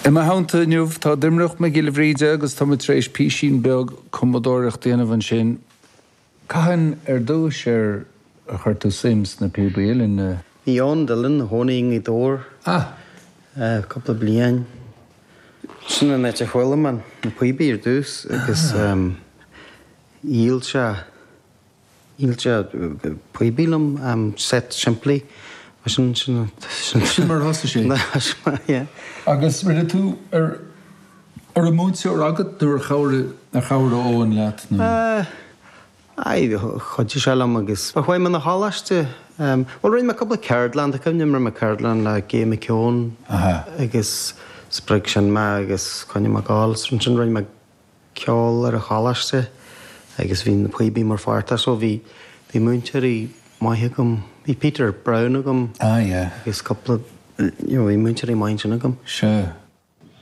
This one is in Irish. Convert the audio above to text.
I mo theannta inniu tá Doimnic Mac Giolla Bhríde agus tá muid tar éis písín beag cumadóireachta a dhéanamh ansin. Cathain ar dtúis ar chuir tú suim sna píobaí uilleann? Bhí Eoin Dillon ina chónaí i nGaoth Dobhair cúpla bliain. Sin an áit a chuala mé na píobaí ar dtús agus dhíol sé dhíol sé píobaí liom, set simplí. Sin sin sin Sin mar a thosaigh sé. Yeah. Agus rinne tú ar An raibh múinteoir agat nó ar chabhraigh ar chabhraigh Eoin leat nó? Aye, chuidigh sé liom agus chuaigh mé 'na choláiste. Bhuel, rinne mé cúpla ceardlann, tá cuimhne agam rinne mé ceardlann le Gay McKeown agus spreag sin mé agus choinnigh mé ag gabháil. Ansin rinne mé ceol ar an choláiste agus bhí na píobaí mar pháirt de so bhí bhí múinteoirí maithe agam. Bhí Peter Brown agam Ah yeah. agus cúpla, you know, bhí múinteoirí maithe ansin agam. Sea.